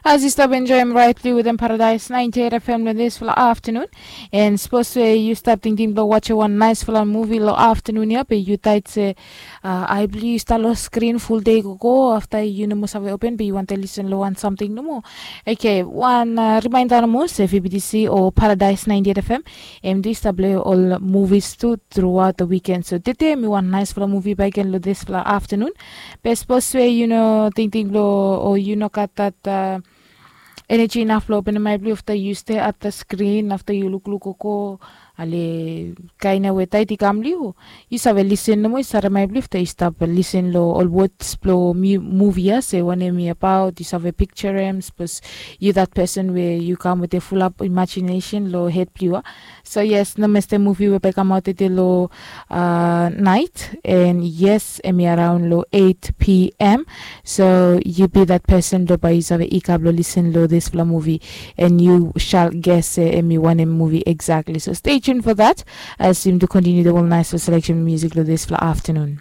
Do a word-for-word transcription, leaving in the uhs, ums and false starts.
As yu stap enjoim raitli wetem Paradise ninety eight F M long dispela afternoon, and sapos we yu stap tingting bilong watchim wan naispela muvi long afternoon ya, be yu tait se uh, ai bilong yu stap long skrin ful de gogo afta yu no moa save open, be yu wantaim lisen long wan samting nomo. Okay, wan uh, reminder nomo se V B T C o Paradise ninety eight F M em i stap long ol movies tu throughout the weekend. So tete mi wan naispela muvi baik gen long dispela afternoon. Be sapos we yu no tingting bilong o yu no gat dat uh, energy inaf long openim ai bilong afta yu stay at the screen afta yu lukluk oko ale kaina we tait i kam liu, yu save lisen nomo yu save mai bilif ta yu stap lisen long ol words bilong muvi ya se wanem i abaut yu save picture em sapos yu that person we yu kam with a full up imagination long head bilong yu. So yes, no mester muvi we bai kamaut tete long uh, night and yes em i around long eight p.m. So you be that person do bai yu save ikap long listen long dispela muvi and you shall guess se em i wanem muvi exactly. So stay tuned for that as yum to continue the whole nice selection music long dispela afternoon.